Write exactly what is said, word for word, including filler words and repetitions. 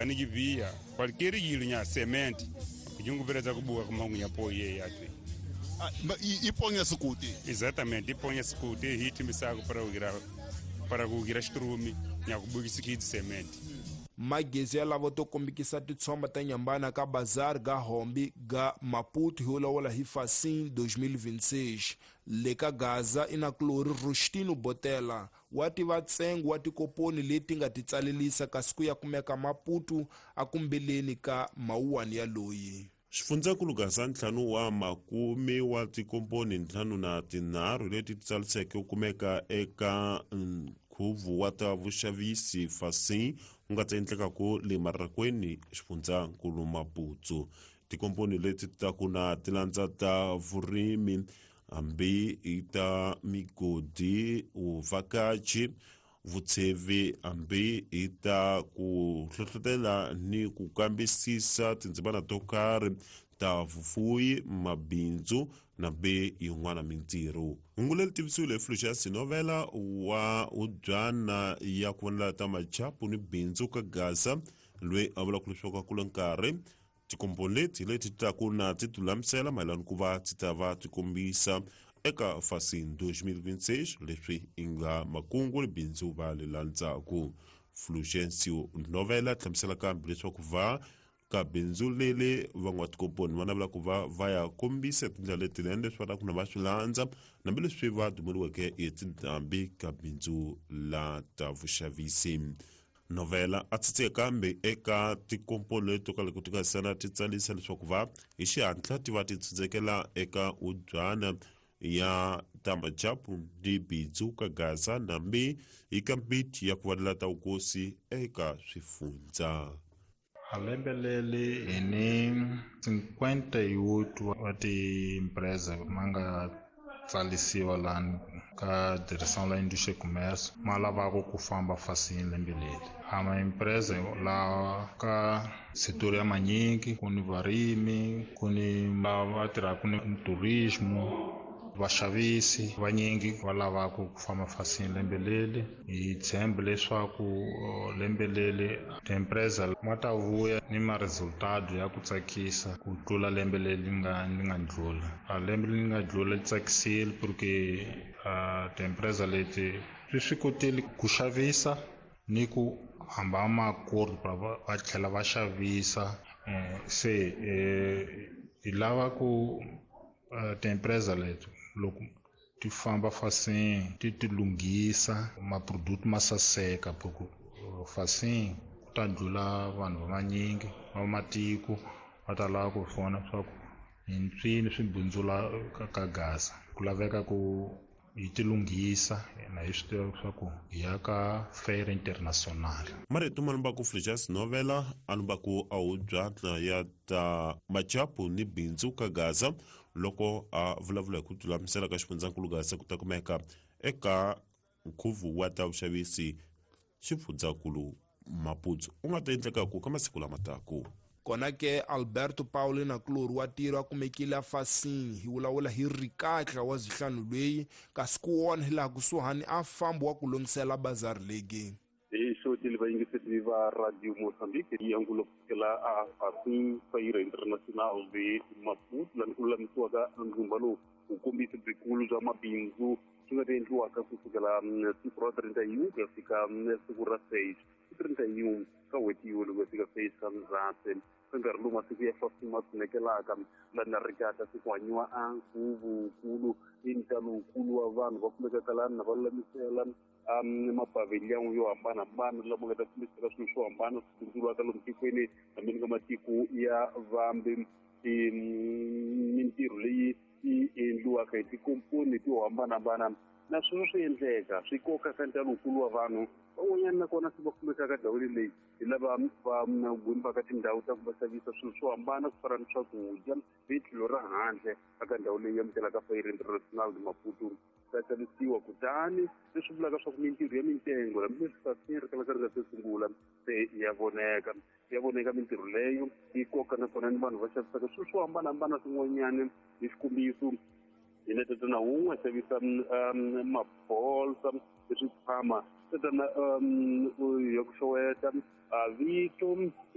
Anijivia qualquer nya cement kujungubereza kubuka kumangunya po ye yatwe. Ah, iponya sukuti. Exatamente, iponya sukuti hiti misako para ugira para kugira strumi nya kubukisa kidi cement. Magezi ya lava to kombikisa titshomba ta nyambana ka bazar ga Hombi ga Maputo hi lawula hi Facim dois mil e vinte e seis. Le ka Gaza ina Clori Rustino Botela wa tiva ntsengo wa tikoponi leti nga ti tsalelisa kasi ku ya kumeka Maputo akumbeleni ka mawuwani ya loyi. Xifundzankulu Gaza ntlhanu wa makume wa tikomponi ntlhanu na tinharhu leti ti tsaliseke ku kumeka eka nkhuvo wa ta vuxavisi Facim wu nga ta endlekaku le Marrakweni xifundzankulu Maputo. Tikomponi leti ta ku na tilandza ta vurimi hambi i ta migodi, vuvhakachi, vutshevi hambi i ta ku hlohlotela ni ku kambisisa tindzimana to karhi ta vufuwi, mabindzu na be yin'wana mintirho. Hungu leri tivisiwile hi Fluxas Novela wa Udyana ya ku vonela ta machapu ni bindzu ka Gaza, loyi a vulaka leswaku a kula nkarhi tikomponi leti leti ta ku na ti tilulamisela mayelana ku va ti ta va ti kombisa eka Facim dois mil e vinte e seis leswi i nga makungu ni bindzu va le landzaku. Fulgencio Novela hlamusela kambe leswaku va ka bindzu leli van'watikomponi va navela ku va va ya kombisa tindlela letinene leswi va lavaku na va swi landza hambileswi va dumeriweke hi tindhambi ka bindzu la ta vuxavisi. Novela a tsitsika kambe eka tikomponi leti to kala ku ti nga sana ti tsalisa leswaku va hi xihatla ti va ti tsundzekela eka udyana ya tamachapu ni bindzu ka Gaza nambi hi kambiti ya ku vanela ta vukosi eka swifundza. A lembe leri hi ni cinquenta e oito wa ti-empresa ma nga tsalisiwa lani ka Direção la Indústria e Comércio ma lavaka ku famba Facim lembe leri. A ma-empresa lawa ka setor ya manyingi ku ni varimi, ku ni lava va tirhaka ni turismo, vaxavisi vanyingi va lavaka ku famba Facim lembe leri. Hi tshemba leswaku lembe leri ti-empresa ma ta vuya ni ma resultado ya ku tsakisa ku tlula lembe leri nga li nga ndlula. A lembe leri nga ndlula li tsakisile porque ti-empresa leti swi swi kotile ku xavisa ni ku hamba makurhu va tlhela va xavisa. Se hi lava ku ti-empresa leti loko ti famba Facim ti ti lunghisa ma-product ma saseka porque Facim ku ta ndlula vanhu va manyingi va matiko va ta lava ku vona swa ku hi nswini swi bindzula ka Gaza. Ku laveka ku hi ti lunghisa na hi swi tiva swa ku hi ya ka fair international. Marito ma lumbaku Fluxas Novela a lumbaku a hubyatla ya ta machapu ni bindzu ka Gaza loko a vulavula hi ku tilulamisela ka xifundzankulu Gaza ku ta kumeka eka nkhuvo wa ta vuxavisi xifundzankulu Maputo u nga ta endlekaku ka masiku lama taku. Kona ke Alberto Paulo na Clori wa tirho a kumekile a Facim hi vulavula hi rikatla wa zihlanu leyi kasi ku wona hi laha kusuhani a fambi wa ku lunghisela bazari legi. Hi xotile vayingiseri va Radio Mozambique yi angulo kusukela a Facim Feira Internacional de Maputo laha ku lulamisiwaka ndzumba lowu wu kombisa byikulu bya mabindzu swi nga ta endliwaka kusukela siku ra trinta e um ku ya fika siku ra seis trinta e um ka n'hweti yin'we loko ya fika seis ka Ndzhati. Ka nkarhi lowu masiku ya Facim ma tsunekelaka laha na rikatla se ku hanyiwa a nkhuvo-wukulu i ntalo wukulu wa vanhu va kumekaka lani na va lulamisela mapavhiliyani yo hambanahambana lama nga ta kombisaka swilo swo hambana swi bindzuriwaka lomu tikweni hambi ka matiko ya vambe. Mintirho leyi yi endliwaka hi tikomponi to hambanahambana na sweswo swi endleka swi koka ka ntalo wukulu wa vanhu van'wanyana nakona se va kumekaka ndhawini leyi hi lava va gwimbaka tindhawu ta ku va xavisa swilo swo hambana ku fana ni swakudya hi tlhelo ra handle eka ndhawu leyi amukelaka Feira Internacional de Maputo ta xavisiwa. Kutani leswi vulaka swa ku mintirho ya mintengo hambileswi Facim ri kalaka ri nga se sungula se ya voneka ya voneka mintirho leyo yi koka nakona ni vanhu va xavisaka swilo swo hambanahambana swin'wanyana. Hi xikombiso hi na tatana wun'we a xavisa mabolsa leswi tshama tatana ya ku xeweta Vito